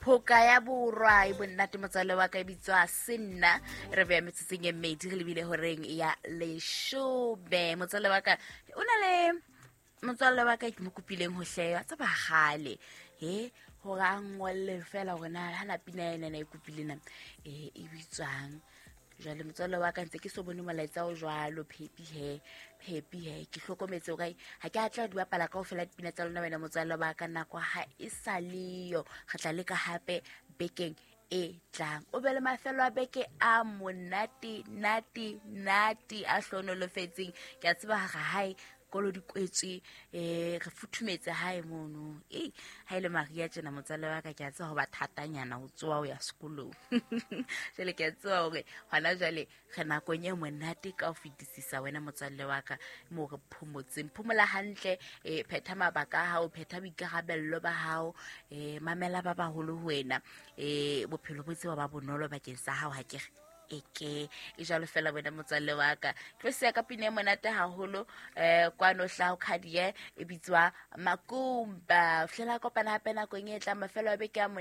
Phoka ya Borwa e bonnate, motswalle wa ka, e bitswa Senna. Re beya metsotsong e mmedi re lebile horeng ya 10. Motswalle wa ka, o na le motswalle wa ka ke mo kopileng ho hleya tsa bagale he gore a ngwalle fela gore na ga na pina ena na e kopile na e bitswang. Jwale motswalle wa ka, ntse ke so bone molaetsa o jwalo. Phepi he, phepi he, ke hlokometse o kae, ga ke a tla di bapala ka fela dipina tsa lona. Wena motswalle wa ka, nako ga e sa leyo, re tla leka gape bekeng e tlang. O be le mafelo a beke a monate nate nate a hlonolofetseng. Ke a tseba ga hae kolo di kwetswe, re futhumetse hae mono. E ha ile maria tjena, motswalle wa ka, ke a tseba ho ba thatanyana ho tsoa ho ya sekolong. Jwale ke a tseba hore hona jwale re nakong e monate ka ho fetisisa. Wena motswalle wa ka, mo re phomotseng, phomola hantle, phetha mabaka a hao, phetha boikarabello ba hao, mamela ba baholo ho wena, bophelo bo tseba ba bonolo bakeng sa hao. Ha ke re eke e jalo fela, wena motswalle wa ka, tlo siya ka pina e monate haholo, kwano hlaho khadie, e bitswa Makumba. Fihlela kopana hape nakong e tlang. Mafelo a beke a.